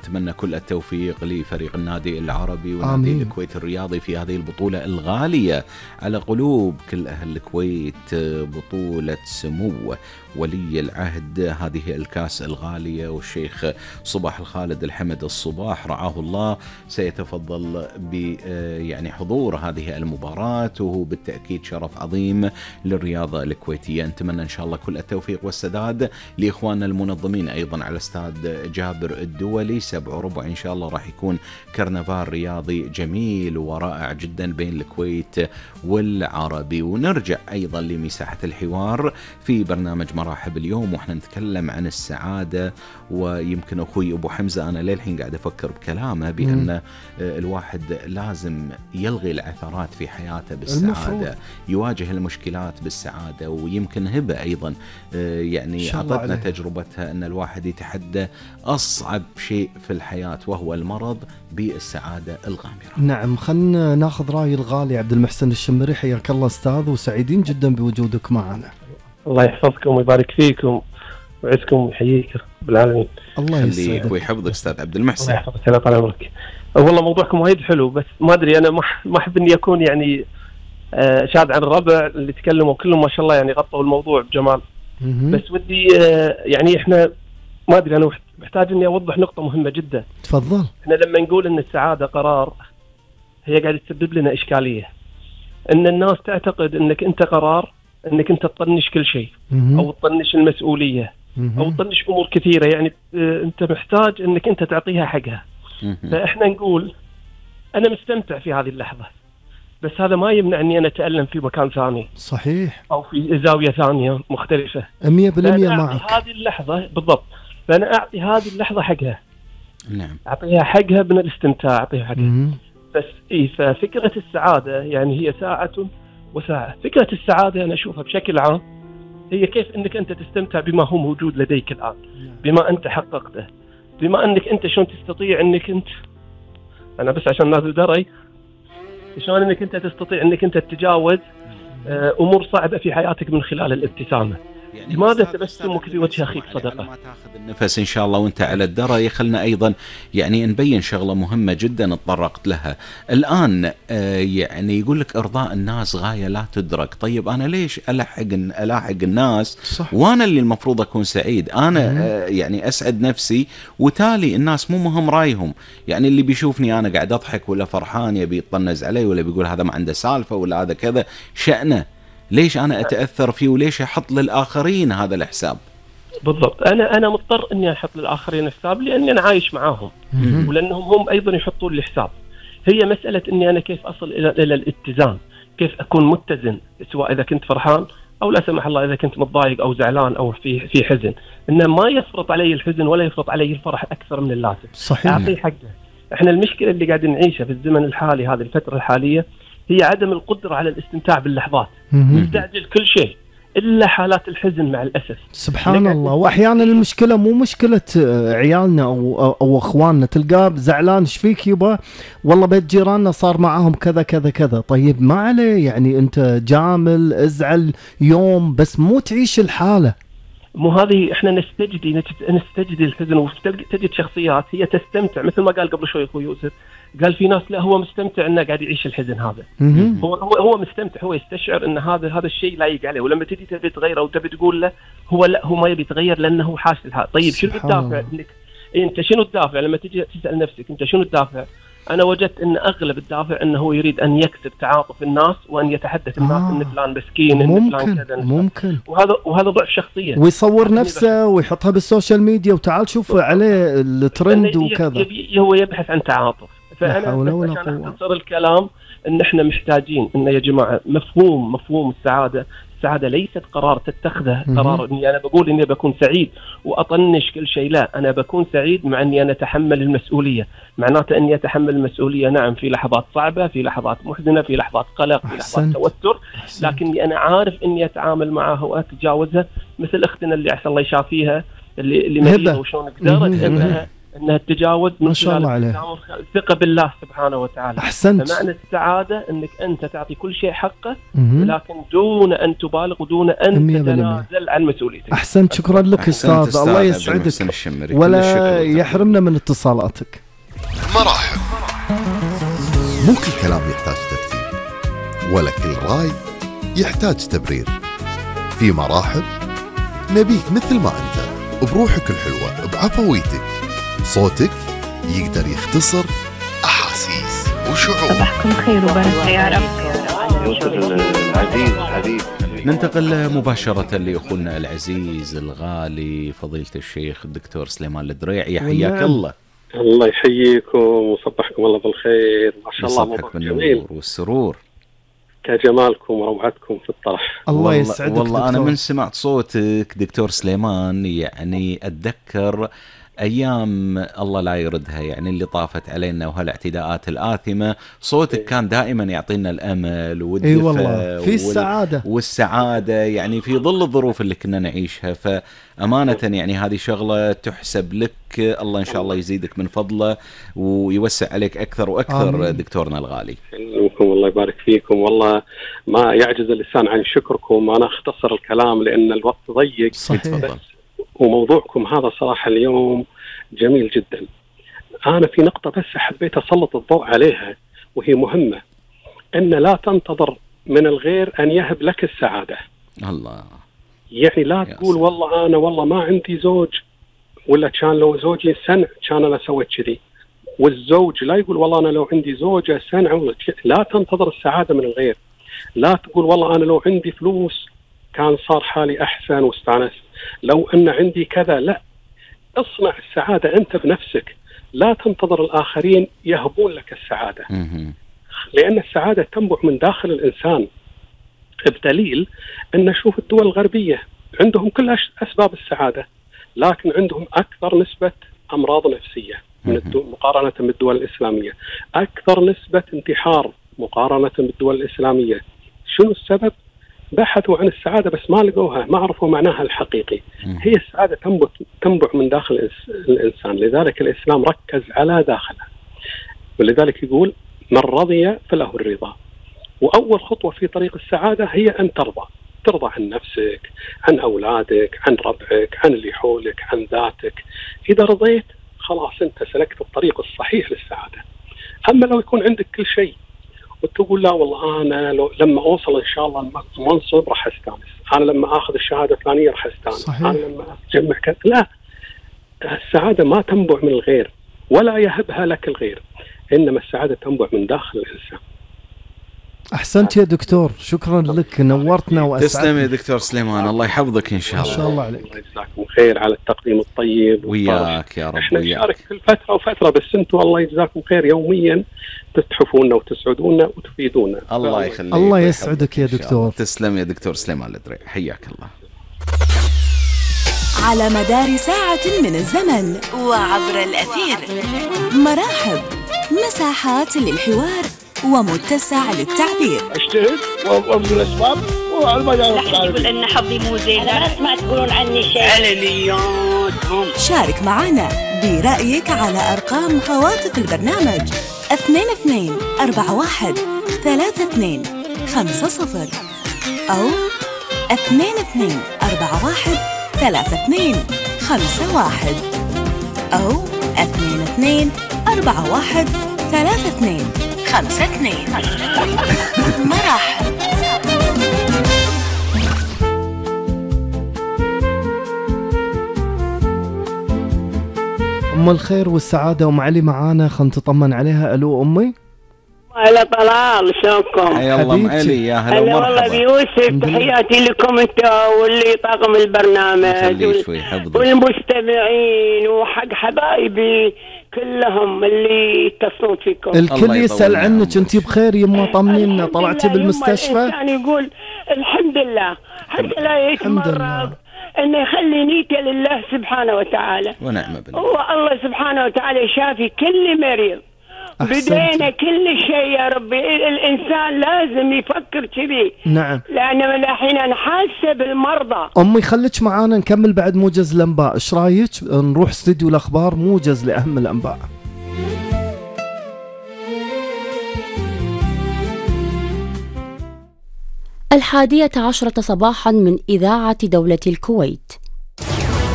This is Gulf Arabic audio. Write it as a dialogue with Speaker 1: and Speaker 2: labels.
Speaker 1: ونتمنى كل التوفيق لفريق النادي العربي ونادي الكويت الرياضي في هذه البطولة الغالية على قلوب كل أهل الكويت، بطولة سمو ولي العهد هذه الكاس الغالية، والشيخ صباح الخالد الحمد الصباح رعاه الله سيتفضل يعني حضور هذه المباراة، وهو بالتأكيد شرف عظيم للرياضة الكويتية. نتمنى إن شاء الله كل التوفيق والسداد لإخواننا المنظمين أيضا على استاد جابر الدولي 7:15 إن شاء الله راح يكون كرنفال رياضي جميل ورائع جدا بين الكويت والعربي. ونرجع أيضا لمساحة الحوار في برنامج مراحب اليوم وإحنا نتكلم عن السعادة، ويمكن أخوي أبو حمزة أنا للحين قاعد أفكر بكلامه بأن الواحد لازم يلغي العثرات في حياته بالسعادة، يواجه المشكلات بالسعادة. ويمكن هبة أيضا يعني أعطتنا تجربتها أن الواحد يتحدى أصعب شيء في الحياة وهو المرض بالسعادة الغامرة.
Speaker 2: نعم، خلنا ناخذ رأي الغالي عبد المحسن الشمري. حياك الله أستاذ، وسعيدين جدا بوجودك معنا.
Speaker 3: الله يحفظكم ويبارك فيكم ويعزكم ويحييك رب العالمين.
Speaker 2: الله يسعدك
Speaker 1: ويحفظك أستاذ عبد المحسن.
Speaker 3: الله يحفظك الله طال عمرك. والله موضوعكم وايد حلو، بس ما أدري أنا ما أحب إني أكون يعني شاد عن الربع اللي تكلموا كلهم ما شاء الله يعني غطوا الموضوع بجمال. بس ودي يعني إحنا ما أدري أنا محتاج إني أوضح نقطة مهمة جدا.
Speaker 2: تفضل.
Speaker 3: إحنا لما نقول إن السعادة قرار هي قاعدة تسبب لنا إشكالية، إن الناس تعتقد إنك أنت قرار إنك أنت تطنش كل شيء أو تطنش المسؤولية أو تطنش أمور كثيرة، يعني أنت محتاج إنك أنت تعطيها حقها. فإحنا نقول أنا مستمتع في هذه اللحظة، بس هذا ما يمنع إني أنا أتألم في مكان ثاني.
Speaker 2: صحيح.
Speaker 3: أو في زاوية ثانية مختلفة.
Speaker 2: 100% معك.
Speaker 3: هذه اللحظة بالضبط، فأنا أعطي هذه اللحظة حقها.
Speaker 1: نعم.
Speaker 3: أعطيها حقها من الاستمتاع، أعطيها حقها. بس ففكرة السعادة يعني هي ساعة وساعة. فكرة السعادة أنا أشوفها بشكل عام هي كيف أنك أنت تستمتع بما هو موجود لديك الآن، بما أنت حققته، بما أنك أنت شلون تستطيع أنك أنت، أنا بس عشان الناس دري شلون أنك أنت تستطيع أنك أنت تتجاوز أمور صعبة في حياتك من خلال الابتسامة. يعني لماذا تبسمك في وجه أخيك صدقة؟
Speaker 1: ما تاخذ النفس إن شاء الله وأنت على الدرى. خلنا أيضا يعني نبين شغلة مهمة جدا اتطرقت لها الآن. يعني يقول لك إرضاء الناس غاية لا تدرك. طيب أنا ليش ألاحق الناس؟ صح. وأنا اللي المفروض أكون سعيد، أنا يعني أسعد نفسي، وتالي الناس مو مهم رأيهم. يعني اللي بيشوفني أنا قاعد أضحك ولا فرحان يبي يطنز علي ولا بيقول هذا ما عنده سالفة ولا هذا كذا، شأنه. ليش أنا أتأثر فيه وليش أحط للآخرين هذا الحساب؟
Speaker 3: بالضبط. أنا مضطر إني أحط للآخرين حساب لأني أنا عايش معاهم ولأنهم هم أيضا يحطون لي حساب. هي مسألة إني أنا كيف أصل إلى الاتزان، كيف أكون متزن، سواء إذا كنت فرحان أو لا سمح الله إذا كنت متضايق أو زعلان أو في حزن، إنه ما يفرط علي الحزن ولا يفرط علي الفرح أكثر من اللازم.
Speaker 2: صحيح.
Speaker 3: أعطيه حقه. إحنا المشكلة اللي قاعدين نعيشها في الزمن الحالي، هذه الفترة الحالية، هي عدم القدرة على الاستمتاع باللحظات. نستعجل كل شيء إلا حالات الحزن مع الأسف.
Speaker 2: سبحان الله. وأحيانا المشكلة مو مشكلة عيالنا أو أخواننا، تلقاه زعلان إيش فيك يبا والله بيت جيراننا صار معهم كذا كذا كذا. طيب ما عليه، يعني أنت جامل ازعل يوم بس مو تعيش الحالة.
Speaker 3: مو هذه احنا نستجدي الحزن، وتجد شخصيات هي تستمتع، مثل ما قال قبل شوي اخوي يوسف، قال في ناس لا هو مستمتع انه قاعد يعيش الحزن هذا. هو مستمتع، هو يستشعر ان هذا الشيء لايق عليه، ولما تجي تبي تغيره او تبي تقول له هو ما يبي يتغير لانه حاس لها. طيب شنو الدافع انك انت شنو الدافع لما تجي تسال نفسك انت شنو الدافع؟ أنا وجدت أن أغلب الدافع أنه هو يريد أن يكسب تعاطف الناس وأن يتحدث الناس أن فلان مسكين أن فلان كذا.
Speaker 2: ممكن.
Speaker 3: وهذا ضعف شخصية.
Speaker 2: ويصور نفسه ويحطها بالسوشيال ميديا وتعال شوف عليه الترند وكذا.
Speaker 3: هو يبحث عن تعاطف. فأنا عشان أختصر الكلام أن إحنا محتاجين أن يا جماعة مفهوم السعادة. السعادة ليست قرار تتخذه، قرار إني أنا بقول إني بكون سعيد وأطنش كل شيء. لا، أنا بكون سعيد مع إني أنا أتحمل المسؤولية. معناته إني أتحمل المسؤولية، نعم، في لحظات صعبة، في لحظات محزنة، في لحظات قلق، في لحظات توتر، لكني أنا عارف إني أتعامل معها وأتجاوزها. مثل أختنا اللي عسى الله يشافيها اللي مريضة وشون قدرت انها تتجاوز
Speaker 2: ما شاء الله عليه.
Speaker 3: الثقه بالله سبحانه وتعالى.
Speaker 2: احسنت.
Speaker 3: فمعنى السعاده انك انت تعطي كل شيء حقه، ولكن دون ان تبالغ ودون ان تتنازل عن مسؤوليتك.
Speaker 2: احسنت، شكرا لك استاذ، الله يسعدك ولا يحرمنا من اتصالاتك.
Speaker 4: مراحب. مو كل كلام يحتاج ترتيب، ولا كل راي يحتاج تبرير. في مراحب نبيك مثل ما انت، بروحك الحلوة، بعفويتك. صوتك يقدر يختصر أحاسيس وشعور.
Speaker 5: صباحكم خير وبركة يا رب.
Speaker 1: العزيز حبيب. ننتقل مباشرة لأخونا العزيز الغالي فضيلة الشيخ الدكتور سليمان الدريعي، حياك الله.
Speaker 6: الله يحييكم وصبحكم الله بالخير. ما شاء الله
Speaker 1: موضوع جميل والسرور
Speaker 6: كجمالكم وروعتكم في الطرح.
Speaker 2: الله يسعدك.
Speaker 1: والله دكتور. أنا من سمعت صوتك دكتور سليمان يعني أتذكر أيام الله لا يردها، يعني اللي طافت علينا وهالاعتداءات الآثمة. صوتك كان دائما يعطينا الأمل والدفء.
Speaker 2: أي والله في السعادة
Speaker 1: والسعادة يعني في ظل الظروف اللي كنا نعيشها. فأمانة يعني هذه شغلة تحسب لك. الله إن شاء الله يزيدك من فضله ويوسع عليك أكثر وأكثر. آمين. دكتورنا الغالي.
Speaker 6: الله يبارك فيكم. والله ما يعجز اللسان عن شكركم. أنا أختصر الكلام لأن الوقت ضيق.
Speaker 2: صحيح.
Speaker 6: وموضوعكم هذا صراحة اليوم جميل جدا. أنا في نقطة بس حبيت أسلط الضوء عليها وهي مهمة، أن لا تنتظر من الغير أن يهب لك السعادة.
Speaker 1: الله.
Speaker 6: يعني لا تقول والله أنا والله ما عندي زوج، ولا كان لو زوجي سنع كان أنا سويت كذي. والزوج لا يقول والله أنا لو عندي زوجة سنع. لا تنتظر السعادة من الغير. لا تقول والله أنا لو عندي فلوس كان صار حالي أحسن واستانست، لو أن عندي كذا. لا، اصنع السعادة أنت بنفسك. لا تنتظر الآخرين يهبون لك السعادة، لأن السعادة تنبع من داخل الإنسان. بدليل أن نشوف الدول الغربية عندهم كل أسباب السعادة، لكن عندهم أكثر نسبة أمراض نفسية مقارنة بالدول الإسلامية، أكثر نسبة انتحار مقارنة بالدول الإسلامية. شنو السبب؟ بحثوا عن السعادة بس ما لقوها، ما عرفوا معناها الحقيقي. هي السعادة تنبع من داخل الإنسان. لذلك الإسلام ركز على داخله، ولذلك يقول من رضي فله الرضا. وأول خطوة في طريق السعادة هي أن ترضى عن نفسك، عن أولادك، عن ربعك، عن اللي حولك، عن ذاتك. إذا رضيت خلاص أنت سلكت الطريق الصحيح للسعادة. أما لو يكون عندك كل شيء وتقول لا والله أنا لما أوصل إن شاء الله المنصب راح أستانس، أنا لما أخذ الشهادة الفلانية راح أستانس، أنا لما أجمع كذا. لا، السعادة ما تنبع من الغير ولا يهبها لك الغير، إنما السعادة تنبع من داخل الإنسان.
Speaker 2: أحسنت يا دكتور، شكرا لك، نورتنا وأسعدنا.
Speaker 1: تسلم يا دكتور سليمان، الله يحفظك إن شاء الله.
Speaker 2: ما شاء الله عليك.
Speaker 6: الله يجزاكم خير على التقديم الطيب.
Speaker 1: وياك يا رب.
Speaker 6: احنا نشارك كل فترة وفترة، بس انتم الله يجزاكم خير يوميا تتحفونا وتسعدونا وتفيدونا.
Speaker 1: الله يخليك.
Speaker 2: الله يسعدك يا دكتور.
Speaker 1: تسلم يا دكتور سليمان الدريعي، حياك الله.
Speaker 7: على مدار ساعة من الزمن وعبر الأثير، مراحب، مساحات للحوار ومتسع للتعبير.
Speaker 8: اجتهد وابذل الاسباب وعلى ما
Speaker 5: يقول ان حظي مو زين، انا اسمع تقولون عني شيء.
Speaker 8: علنياتهم.
Speaker 7: شارك معنا برأيك على أرقام هواتف البرنامج 22 41 32 50 أو 22 41 32 51 أو 22 41 32 52. مراحب.
Speaker 2: أم الخير والسعادة أم علي معانا، خلنا نطمن عليها. ألو أمي.
Speaker 9: هلا طلال، شلونكم؟
Speaker 1: حيا الله ام علي، يا هلا ومرحبا.
Speaker 9: والله بيوسف، تحياتي لكم انت واللي طاقم البرنامج والمستمعين وحق حبايبي كلهم اللي يتصلون فيكم.
Speaker 2: الكل يسأل عنك، انت بخير يما؟ طمنينا، طلعتي بالمستشفى؟
Speaker 9: يعني يقول الحمد لله حتى لا يتمرض، انه يخلي نيته لله سبحانه وتعالى،
Speaker 1: ونعم بالله.
Speaker 9: هو الله سبحانه وتعالى شافي كل مريض، بدينا كل شيء يا ربي. الإنسان لازم يفكر كذي.
Speaker 2: نعم.
Speaker 9: لأن من الحين أنا حاسة بالمرضى.
Speaker 2: أمي خليك معانا نكمل بعد موجز الأنباء، إيش رايك نروح استديو الأخبار موجز لأهم الأنباء.
Speaker 10: الحادية عشرة صباحا من إذاعة دولة الكويت.